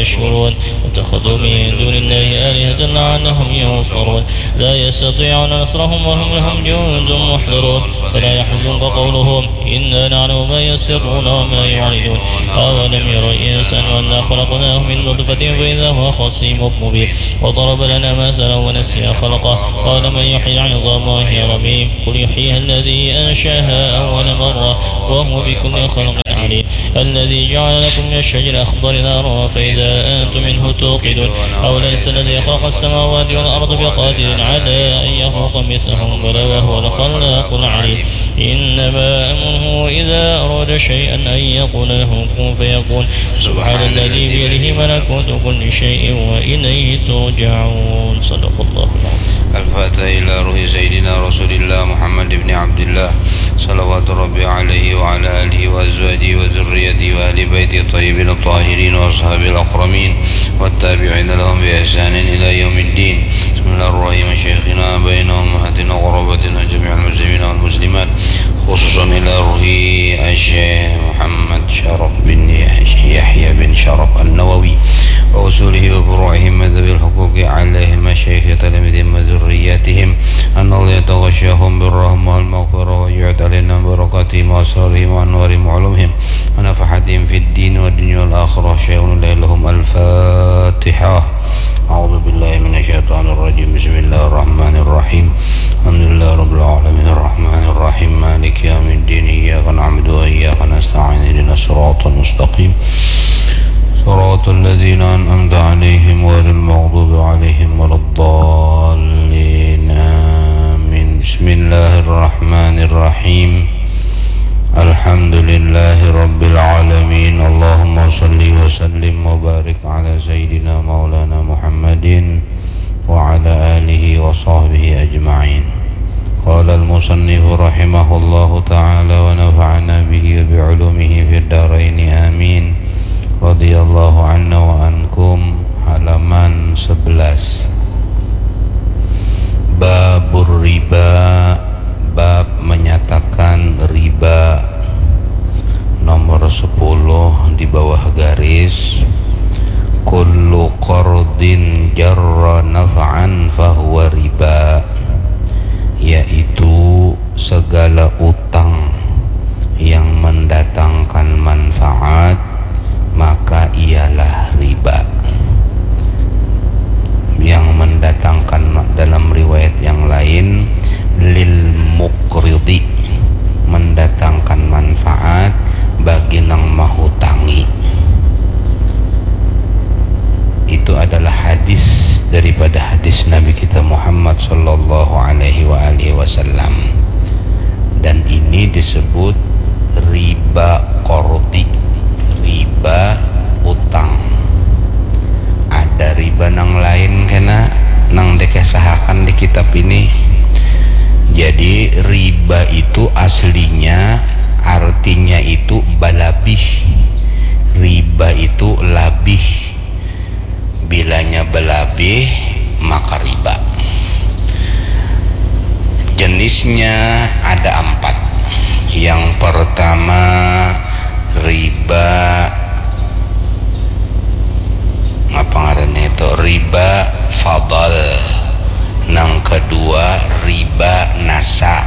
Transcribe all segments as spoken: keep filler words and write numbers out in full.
يشعرون. واتخذوا من دون الله آلهة لعلهم ينصرون. لا يستطيعون نصرهم وهم لهم جند محضرون. فلا يحزنك قولهم. إنا نعلم ما يسرون وما يعلنون. أولم ير الإنسان أنا خلقناه من نطفة فإذا هو خصيم مبين. وضرب لنا مثلا ونسي خلقه. قال من يحيي العظام وهي رميم. قل يحييها الذي أنشأها أول مرة وهو بكل خلق عليم. الذي جعل لكم من الشجر الأخضر نارا فإذا أنتم منه توقدون. أوليس الذي خلق السماوات والأرض بقادر على أن يخلق مثلهم؟ بلى وهو الخلاق العليم. إنما أمره إذا أراد شيئا أن يقول له كن فيكون. سبحان الذي بيده ملكوت كل شيء وإليه ترجعون. صدق الله العظيم. الفاتحة إلى روح سيدنا رسول الله محمد بن عبد الله، صلوات ربي عليه وعلى آله وأزواجه وذريته وأهل بيته الطيبين الطاهرين وأصحابه الأكرمين والتابعين لهم بإحسان إلى يوم الدين. بسم الله الرحمن الرحيم. شيخنا بين أمهاتنا وقرابتنا جميع المسلمين والمسلمات، خصوصا إلى روح الشيخ محمد شرف بن يحيى بن شرف النووي وأصوله وفروعهم ذوي الحقوق عليهم، مشايخ تلاميذهم وذرياتهم، أن الله يتغشاهم بالرحمة والمغفرة ويعيد علينا بركاتهم وأسرارهم وأنوارهم وعلومهم ونفحاتهم في الدين والدنيا والآخرة. شيخنا لهم الفاتحة. أعوذ بالله من الشيطان الرجيم. بسم الله الرحمن الرحيم. الحمد لله رب العالمين. الرحمن الرحيم. مالك يوم الدين. إياك نعبد وإياك نستعين. اهدنا الصراط المستقيم. صراط الذين أنعمت عليهم غير المغضوب عليهم ولا الضالين. آمين. بسم الله الرحمن الرحيم. الحمد لله رب العالمين. اللهم صل وسلم وبارك على سيدنا مولانا محمد وعلى آله وصحبه أجمعين. قال المصنف رحمه الله تعالى ونفعنا به وبعلومه في الدارين آمين. رضي الله عنا وعنكم. Halaman sebelas. Babur riba, bab menyatakan riba. Nomor sepuluh di bawah garis. Kullu qardin jarra naf'an fahuwa riba, yaitu segala utang yang mendatangkan manfaat, maka ialah riba. Yang mendatangkan ma-, dalam riwayat yang lain, lil muqridi, mendatangkan manfaat bagi nang mahutangi. Itu adalah hadis daripada hadis Nabi kita Muhammad sallallahu alaihi wa alihi wasallam. Dan ini disebut riba qardi, riba utang. Ada riba nang lain kena nang dikesahakan di kitab ini. Jadi riba itu aslinya artinya itu balabih. Riba itu labih. Bilanya balabih, maka riba. Jenisnya ada empat. Yang pertama riba, apa ngarannya itu? Riba fadl. Nang kedua riba nasa.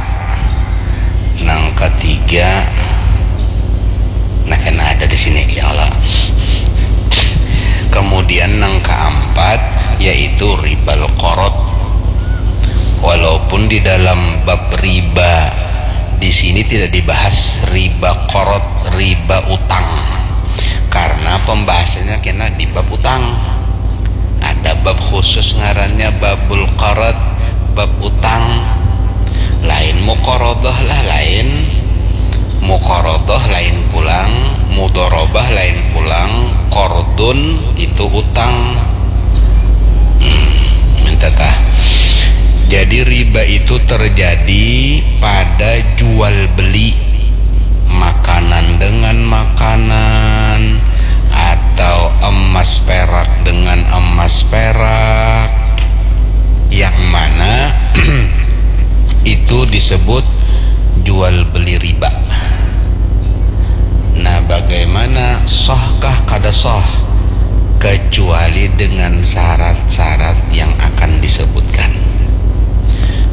Nang ketiga, nah, kena ada di sini, ya Allah. Kemudian nang keempat yaitu ribal qard. Walaupun di dalam bab riba di sini tidak dibahas riba qard, riba utang, karena pembahasannya kena di bab utang. Ada bab khusus ngarannya babul qard, bab utang. Lain muqaradah lah, lain muqaradah, lain pulang mudharabah, lain pulang qardun, itu utang. Hmm, minta tah. Jadi riba itu terjadi pada jual beli makanan dengan makanan atau emas perak dengan emas perak, yang mana itu disebut jual beli riba. Nah, bagaimana sahkah kada sah? Ke- dengan syarat-syarat yang akan disebutkan.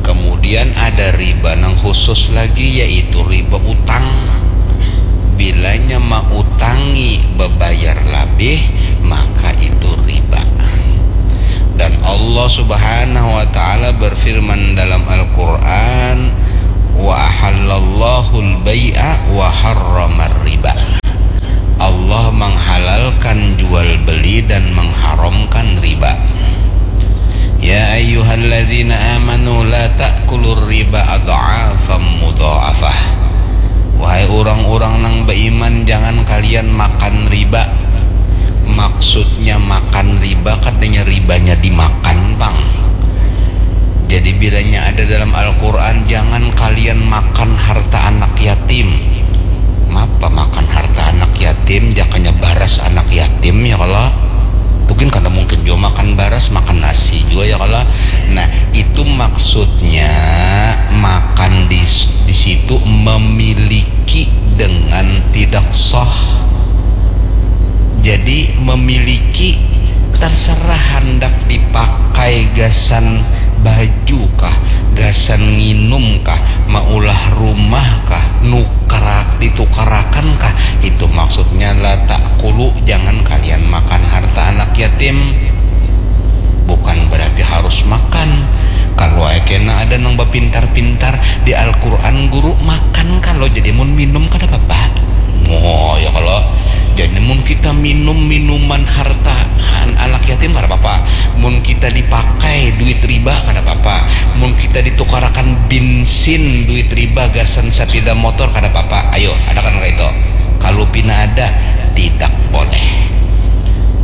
Kemudian ada riba nang khusus lagi, yaitu riba utang. Bilanya mautangi bebayar labih, maka itu riba. Dan Allah Subhanahu wa Ta'ala berfirman dalam Al-Quran, "Wa ahallallahul bai'a wa harramar riba." Allah menghalalkan jual beli dan mengharamkan riba. "Ya ayyuhalladzina amanu la ta'kulur riba adh'afam mudha'afah." Wahai orang-orang nang beriman, jangan kalian makan riba. Maksudnya makan riba, katanya ribanya dimakan, Bang. Jadi bilanya ada dalam Al-Quran, "Jangan kalian makan harta anak yatim." Mapa makan harta anak yatim, jakanya baras anak yatim, ya kalo? Mungkin kada mungkin jua makan baras, makan nasi jua, ya kalo? Nah, itu maksudnya makan di, di situ memiliki dengan tidak sah. Jadi memiliki terserah handak dipakai gasan baju kah, gasan nginum kah, maulah rumah kah, nukar, ditukarakan kah, itu maksudnya la ta'kulu, jangan kalian makan harta anak yatim. Bukan berarti harus makan. Kalau kena ada nang bapintar-pintar di Al-Quran, guru, makan kalau jadi mun minum kada apa-apa. Oh, ya kalau jadi mun kita minum minuman harta an-, anak yatim kada apa-apa. Mun kita dipakai duit riba kada apa-apa. Mun kita ditukarakan bensin duit riba gasan sepeda motor kada apa-apa. Ayo, ada kan itu? Kalau pina ada, tidak boleh.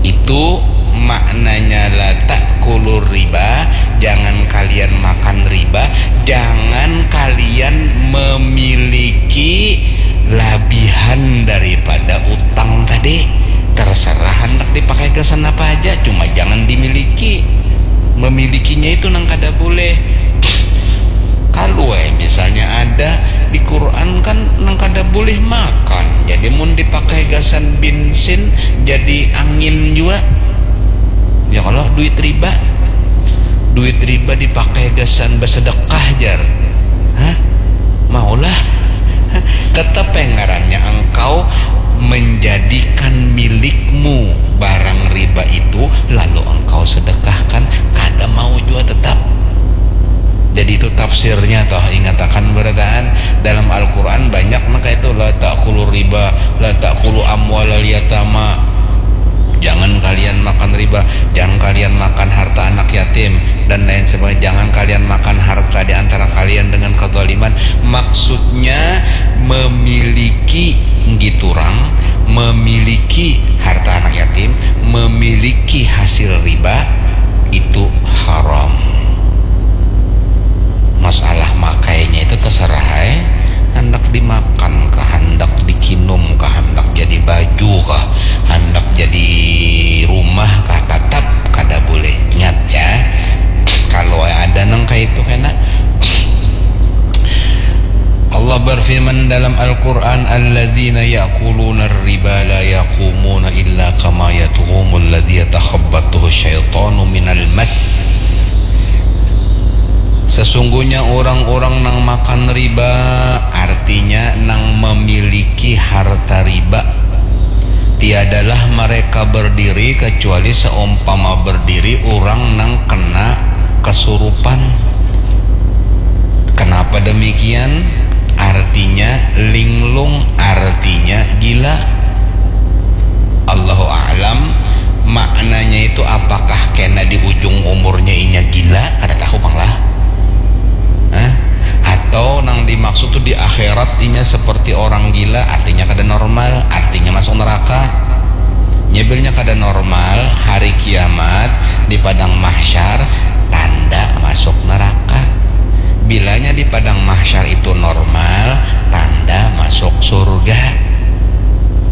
Itu maknanya la ta'kulur riba, jangan kalian makan riba, jangan kalian memiliki labihan daripada utang tadi. Terserah hendak dipakai gasan apa aja, cuma jangan dimiliki. Memilikinya itu nang kada boleh. Kalau eh, misalnya ada di Quran kan nang kada boleh makan. Jadi mun dipakai gasan bensin jadi angin jua. Ya kalau duit riba. Duit riba dipakai gasan bersedekah, jar. Hah? Maulah. Tetap yang ngarannya engkau menjadikan milikmu barang riba itu, lalu engkau sedekahkan, kada mau jua tetap. Jadi itu tafsirnya toh, ingatakan barataan dalam Al-Quran banyak maka itu, "La ta'kulu riba, la ta'kulu amwalal yatama." Jangan kalian makan riba, jangan kalian makan harta anak yatim, dan lain sebagainya. Jangan kalian makan harta di antara kalian dengan kezaliman. Maksudnya memiliki giturang, memiliki harta anak yatim, memiliki hasil riba, itu haram. Masalah makainya itu terserah ai. Handak dimakan kah, handak dikinum kah, handak jadi baju kah, handak jadi rumah kah, tetap kada boleh. Ingat ya, kalau ada nang kayak itu kena. Allah berfirman dalam Al-Quran, "Alladzina ya'kuluna riba la yaqumuna illa kama yaqumul ladzi yatakhabbatuhu syaitanu minal mas." Sesungguhnya orang-orang nang makan riba, artinya nang memiliki harta riba, tiadalah mereka berdiri kecuali seumpama berdiri orang nang kena kesurupan. Kenapa demikian? Artinya linglung, artinya gila. Allahu a'lam, maknanya itu apakah kena di ujung umurnya inya gila? Kada tahu pang lah. Hah? Atau nang dimaksud tu di akhirat inya seperti orang gila, artinya kada normal, artinya masuk neraka. Nyebilnya kada normal, hari kiamat di padang mahsyar, tanda masuk neraka. Bilanya di padang mahsyar itu normal, tanda masuk surga.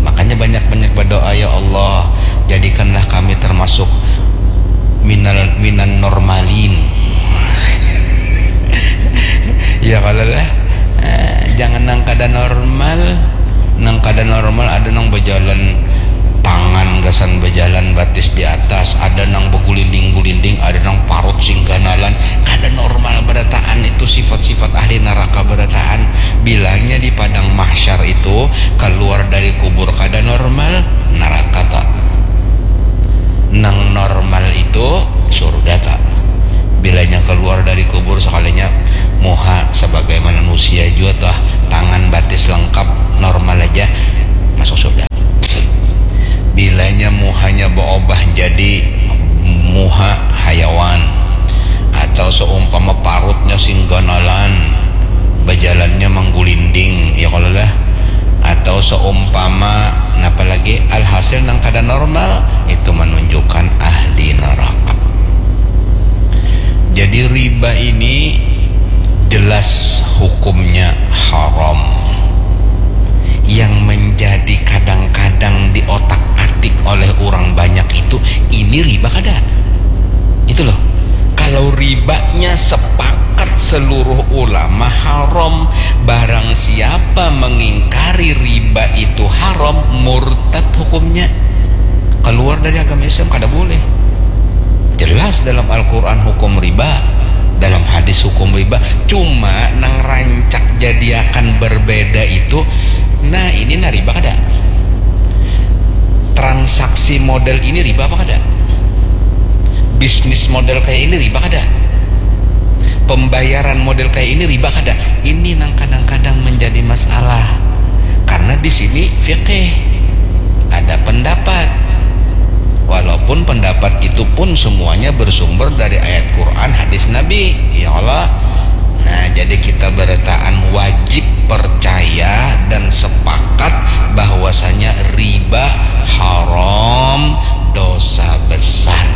Makanya banyak-banyak berdoa, "Ya Allah, jadikanlah kami termasuk minal, minan normalin." Ya kalau lah, eh, jangan nang kada normal. Nang kada normal ada nang berjalan tangan gasan berjalan batis di atas, ada Bilanya di padang mahsyar itu keluar dari kubur kada normal, neraka ta. Nang normal itu surga ta. Bilanya keluar dari kubur sekalinya muha sebagaimana manusia jua tah, tangan batis lengkap normal aja, masuk surga. Bilanya muhanya berubah jadi muha hayawan, atau seumpama parutnya sing ganalan, bajalannya manggulinding, ya kalau lah, atau seumpama napa lagi, alhasil nang kada normal itu menunjukkan ahli neraka. Jadi riba ini jelas hukumnya haram. Yang menjadi kadang-kadang di otak atik oleh orang banyak itu, ini riba kada? Itu loh. Kalau ribanya sepakat seluruh ulama haram, barang siapa mengingkari riba itu haram, murtad hukumnya. Keluar dari agama Islam, kada boleh. Jelas dalam Al-Quran hukum riba, dalam hadis hukum riba. Cuma nang rancak jadiakan berbeda itu, nah ini nah riba kada? Transaksi model ini riba apa kada? Bisnis model kayak ini riba kada? Pembayaran model kayak ini riba kada? Ini nang kadang-kadang menjadi masalah. Karena di sini fikih, ada pendapat. Walaupun pendapat itu pun semuanya bersumber dari ayat Quran, hadis Nabi. Ya Allah. Nah, jadi kita beretaan wajib percaya dan sepakat bahwasanya riba haram, dosa besar,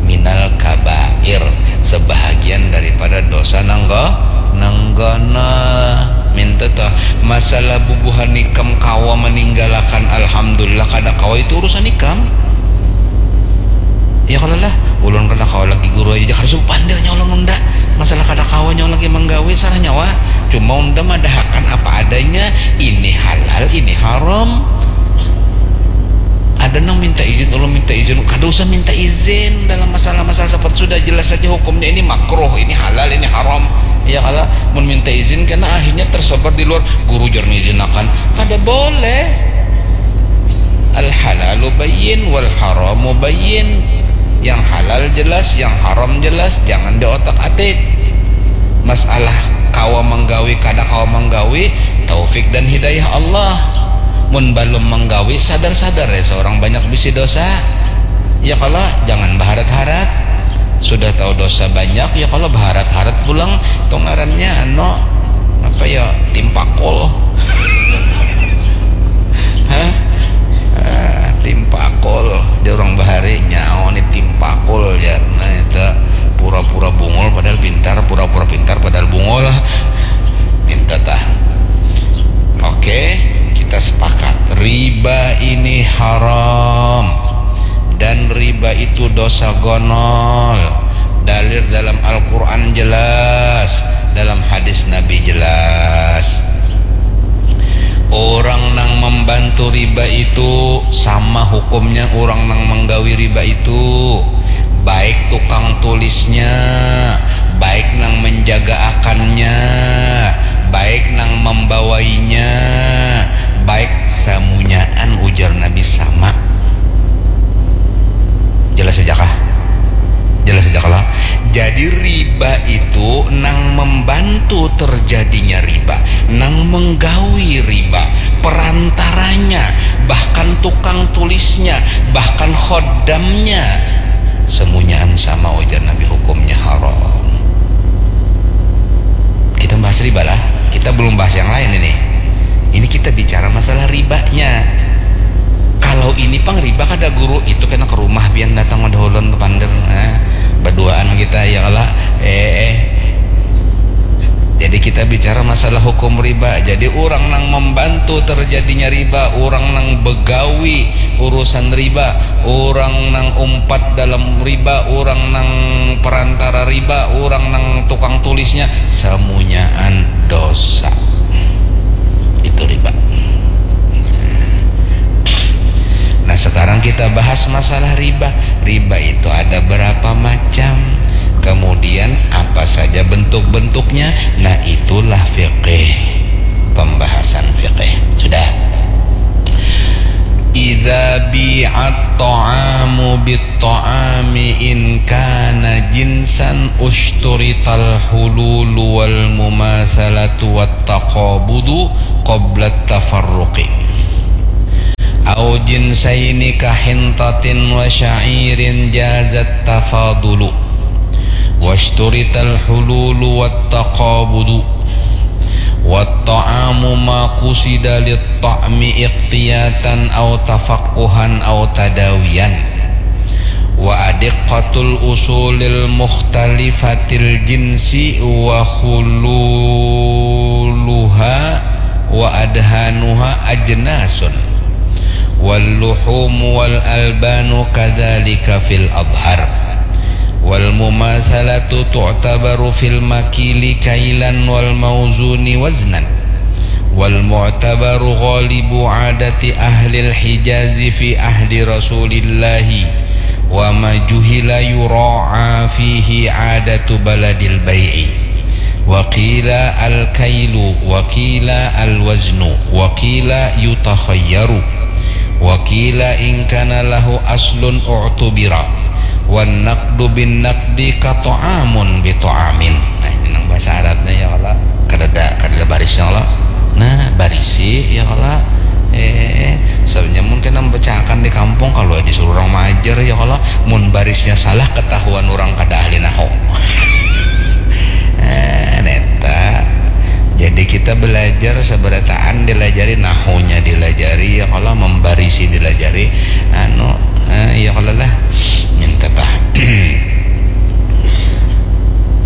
minal kabair, sebahagian daripada dosa nangga nanggana. Minta tuh, masalah bubuhan ikam kawa meninggalakan, alhamdulillah, kada kawa itu urusan ikam. Ya kalau lah, ulun kada kawa lagi guru aja, kada subuh pandirnya ulun unda. Masalah kada kawa nyawa lagi menggawe, salah nyawa. Cuma unda madahakan apa adanya, ini halal, ini haram. Ada nang minta izin, ulun minta izin, kada usah minta izin dalam masalah-masalah seperti sudah jelas saja hukumnya, ini makruh, ini halal, ini haram. Ya kalau mun minta izin karena akhirnya tersebar di luar, guru jar mengizinakan, kada boleh. Al halalu bayyin wal haramu bayyin. Yang halal jelas, yang haram jelas, jangan di otak atik. Masalah kawa menggawi kada kawa menggawi, taufik dan hidayah Allah. Mun balum menggawi, sadar-sadar ya seorang banyak bisi dosa. Ya kalau jangan baharat-harat. Sudah tahu dosa banyak, ya kalau baharat-harat pulang, itu ngarannya anu, apa ya, timpakul. Hah? Ah, timpakul. Di orang bahari nyawa ni timpakul ya. Nah, itu pura-pura bungul padahal pintar, pura-pura pintar padahal bungul. Minta tah. Oke, kita sepakat. Riba ini haram. Dan riba itu dosa gonol. Dalil dalam Al-Quran jelas, dalam hadis Nabi jelas. Orang nang membantu riba itu sama hukumnya orang nang menggawi riba itu. Baik tukang tulisnya, baik nang menjaga akannya, baik nang membawainya, baik samunyaan, ujar Nabi, sama. Jelas saja kah? Jelas saja kalau. Jadi riba itu nang membantu terjadinya riba, nang menggawi riba, perantaranya, bahkan tukang tulisnya, bahkan khodamnya, semunyaan sama, ujar Nabi, hukumnya haram. Kita bahas riba lah, kita belum bahas yang lain ini. Ini kita bicara masalah ribanya. Kalau ini pang riba kada guru, itu kena ke rumah pian datang madahulun bepander, nah, berduaan kita ya kalau eh, eh. Jadi kita bicara masalah hukum riba. Jadi orang nang membantu terjadinya riba, orang nang begawi urusan riba, orang nang umpat dalam riba, orang nang perantara riba, orang nang tukang tulisnya, semunyaan dosa. Itu riba. Nah, sekarang kita bahas masalah riba. Riba itu ada berapa macam? Kemudian apa saja bentuk-bentuknya? Nah, itulah fikih. San fiqih. Sudah. Idza bi'at ta'amu bit ta'ami in kana jinsan ushturital hululu wal mumasalatu wat taqabudu qabla tafarruqi. Au jinsaini kahintatin wa sya'irin jazat tafadulu. Washturital hululu wat taqabudu. Wat ta'amu ma qusida lit ta'mi iqtiyatan au tafaqquhan au tadawiyan. Wa adiqqatul usulil mukhtalifatil jinsi wa khululuha wa adhanuha ajnasun. Wal luhumu wal albanu kadzalika fil adhar. Wal mumasalatu tu'tabaru fil makili kailan wal mauzuni waznan. Wal mu'tabaru ghalibu adati ahlil Hijazi fi ahdi Rasulillahi wa ma juhila yura'a fihi adatu baladil bai'i. Wa qila al kailu wa qila al waznu wa qila yutakhayyaru. Wa qila in kana lahu aslun u'tubira. Wan naqdu bin naqdi ka ta'amun bi ta'amin. Nah, ini nang bahasa Arabnya ya Allah. Kadada, kadada barisnya Allah. Nah, barisi ya Allah. Eh, sebenarnya mungkin nang bacakan di kampung kalau disuruh orang majar ya Allah. Mun barisnya salah ketahuan orang kada ahli nahu. Eh, neta. Jadi kita belajar seberataan dilajari nahunya dilajari ya Allah membarisi dilajari anu eh, ya Allah lah minta tah.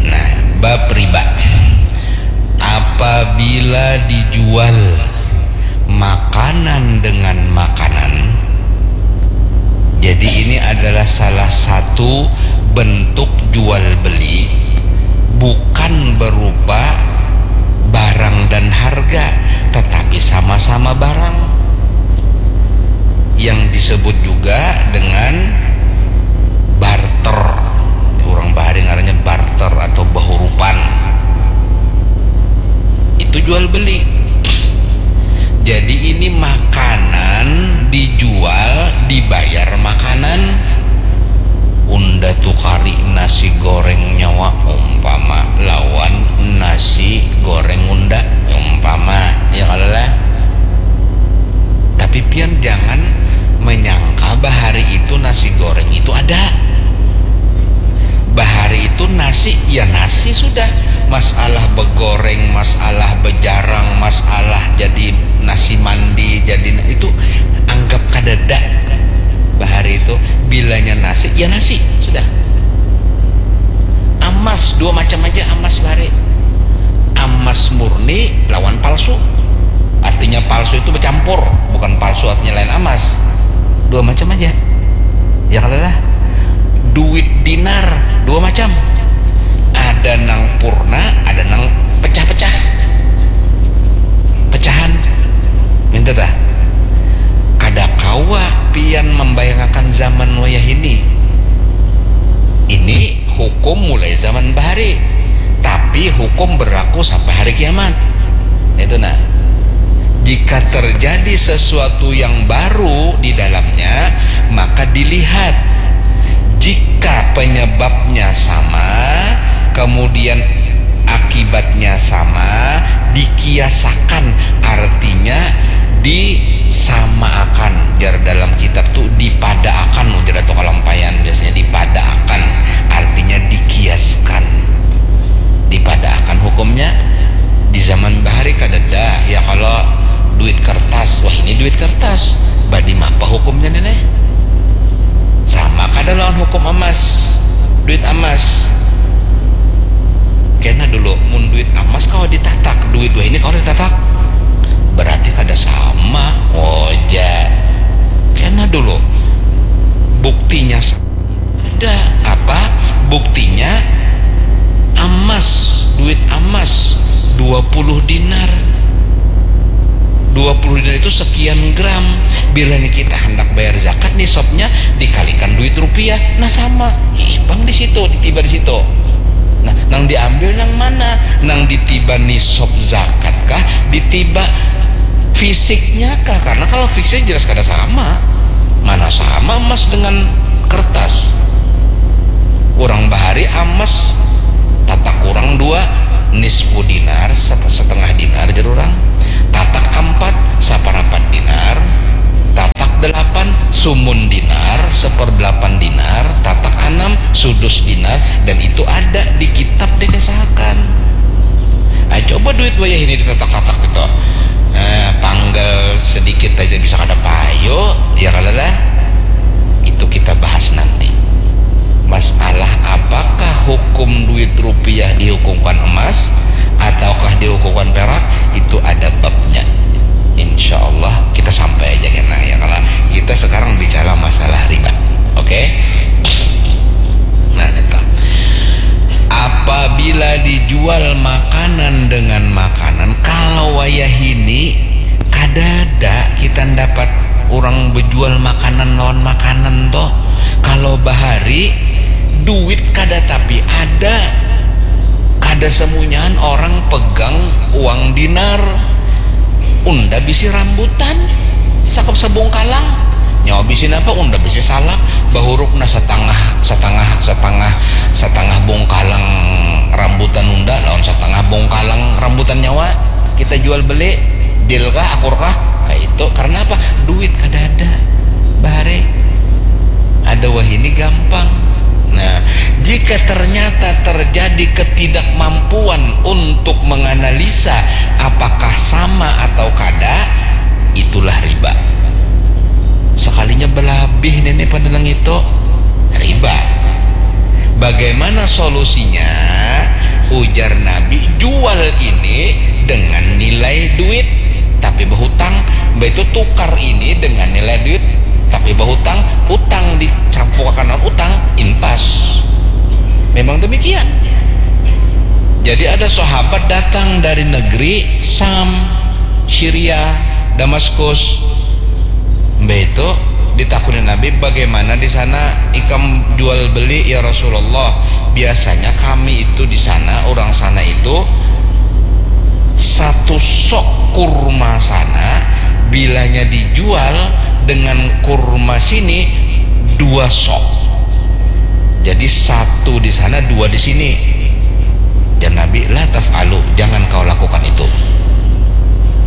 Nah, bab riba. Apabila dijual makanan dengan makanan, jadi ini adalah salah satu bentuk jual beli, bukan berupa barang dan harga, tetapi sama-sama barang yang disebut juga dengan barter. Orang bahari ngarannya barter atau bahurupan. Itu jual beli. Jadi ini makanan dijual, dibayar makanan. Unda tukari nasi goreng nyawa umpama lawan nasi goreng unda umpama ya kalau lah. Tapi pian jangan menyangka bahari itu nasi goreng itu ada. Bahari itu nasi ya nasi sudah. Masalah begoreng, masalah bejarang, masalah jadi nasi mandi, jadi itu anggap kadada. Bahari itu bilanya nasi ya nasi sudah. Amas dua macam aja amas bahari. Amas murni lawan palsu. Artinya palsu itu bercampur, bukan palsu artinya lain amas. Dua macam aja. Ya kalau lah duit dinar dua macam. Ada nang purna, ada nang pecah-pecah. Pecahan. Minta tah. Kada kawa pian membayangakan zaman wayah ini. Ini hukum mulai zaman bahari, tapi hukum berlaku sampai hari kiamat. Itu nah. Jika terjadi sesuatu yang baru di dalamnya, maka dilihat. Jika penyebabnya sama, kemudian akibatnya sama, dikiasakan, artinya disamaakan. Jar dalam kitab tu dipadaakan, ujar Datuk Kalampayan biasanya dipadaakan, artinya dikiaskan. Dipadaakan hukumnya di zaman bahari kadada ya kalau duit kertas, wah ini duit kertas, badi mapa hukumnya nih? Sama kada lawan hukum amas, duit amas. Kena dulu, mun duit amas kawa ditatak, duit wah ini kawa ditatak. Berarti kada sama. Oja. Kena dulu. Buktinya sa- ada apa? Buktinya amas, duit amas dua puluh dinar. Dua puluh dinar itu sekian gram. Bila nih kita hendak bayar zakat nisabnya dikalikan duit rupiah. Nah sama. Ih, bang di situ, ditiba di situ. Nah, nang diambil nang mana? Nang ditiba nisab zakat kah? Ditiba Fisiknya kah? Karena kalau fisiknya jelas kada sama. Mana sama emas dengan kertas? Orang bahari emas tatak kurang dua, nisfu dinar, setengah dinar jar orang, tatak empat, saparapat dinar, tatak delapan, sumun dinar, seperdelapan dinar, tatak enam, sudus dinar, dan itu ada di kitab dikesahakan. Nah, coba duit wayah ini ditatak-tatak gitu. Nah, panggel sedikit aja bisa kada payu, ya kalau lah. Itu kita bahas nanti. Masalah apakah hukum duit rupiah dihukumkan emas ataukah dihukumkan perak, itu ada babnya. Insya Allah kita sampai aja kena ya, kalau kita sekarang bicara masalah riba. Oke? Nah, itu. Apabila dijual makanan dengan makanan, kalau wayah ini kadada kita dapat orang bejual makanan lawan makanan toh. Kalau bahari duit kada tapi ada, kada semunyahan orang pegang uang dinar. Unda bisi rambutan sakap sabungkalang, nyawa bisi napa, unda bisi salak, bahuruk nah satangah satangah satangah satangah bungkalang rambutan unda lawan satangah bungkalang rambutan nyawa, kita jual beli, deal kah, akur kah? Kayak itu. Karena apa? Duit kada ada bahari. Ada wahini gampang. Nah, jika ternyata terjadi ketidakmampuan untuk menganalisa apakah sama atau kada, itulah riba. Sekalinya belabih nini pada nang itu, riba. Bagaimana solusinya? Ujar Nabi, jual ini dengan nilai duit tapi berhutang, baitu tukar ini dengan nilai duit tapi berhutang, utang dicampukakan dengan utang, impas. Memang demikian. Jadi ada sahabat datang dari negeri Sam, Syria, Damaskus. Mbah itu ditakuni Nabi, bagaimana di sana ikam jual beli ya Rasulullah? Biasanya kami itu di sana, orang sana itu satu sok kurma sana bilanya dijual dengan kurma sini dua sok. Jadi satu di sana, dua di sini. Dan Nabi, la taf'alu, jangan kau lakukan itu.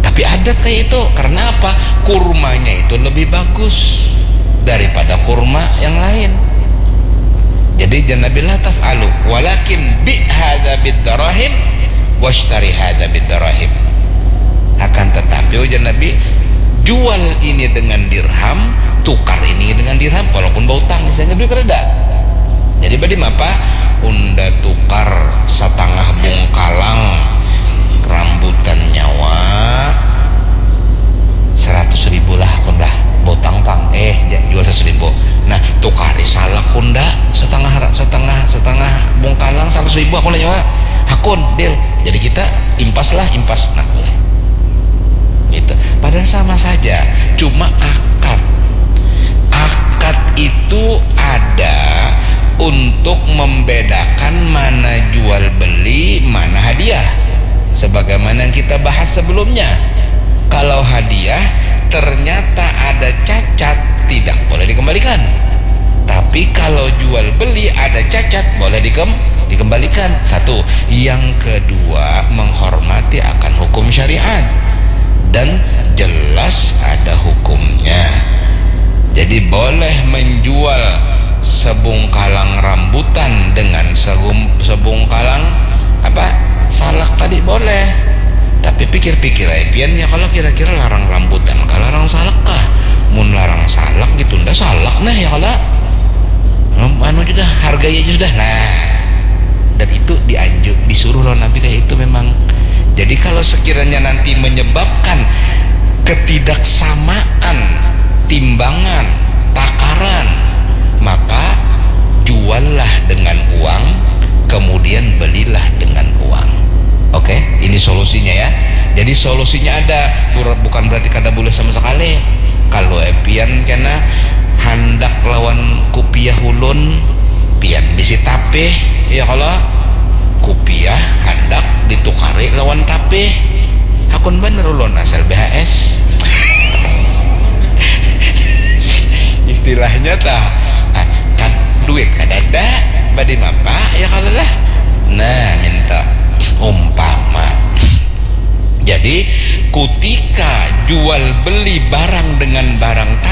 Tapi ada kayak itu. Karena apa? Kurmanya itu lebih bagus daripada kurma yang lain. Jadi jan Nabi, la taf'alu, walakin bi hadza bid darahim washtari hadza bid darahim. Akan tetapi, ujar Nabi, jual ini dengan dirham, tukar ini dengan dirham, walaupun bautang, istilahnya duit reda. Jadi badi mapa? Unda tukar satangah bungkalang rambutan nyawa seratus ribu lah, kun lah, botang pang, eh, jual seratus ribu. Nah, tukari salak kunda setengah setengah setengah bungkalang seratus ribu, aku lah nyawa, hakun, deal. Jadi kita impas lah, impas, nah, boleh. Gitu. Padahal sama saja, cuma akad. Akad itu ada untuk membedakan mana jual beli, mana hadiah. Sebagaimana yang kita bahas sebelumnya, kalau hadiah ternyata ada cacat, tidak boleh dikembalikan. Tapi kalau jual beli ada cacat, boleh dikem dikembalikan. Satu. Yang kedua, menghormati akan hukum syariat dan jelas ada hukumnya. Jadi boleh menjual sebungkalang rambutan dengan segum, sebungkalang apa, salak tadi boleh. Tapi pikir-pikir aja pian ya, kalau kira-kira larang rambutan kah, larang salak kah? Mun larang salak, ditunda salak nah ya, kalau anu sudah, hargai aja sudah. Nah, dan itu dianjur, disuruh lawan Nabi kayak itu memang. Jadi kalau sekiranya nanti menyebabkan ketidaksamaan timbangan, takaran, maka juallah dengan uang, kemudian belilah dengan uang. Oke, ini solusinya ya. Jadi solusinya ada, bukan berarti kada boleh sama sekali. Kalau pian kena handak lawan kupiah ulun, pian bisi tapih, ya kalau kupiah handak ditukari lawan tapih. Hakun banar ulun asal B H S. Istilahnya tah, ah, kan duit kadada, badi mapa ya kalau lah. Nah, minta umpama. Jadi, kutika jual beli barang dengan barang tanpa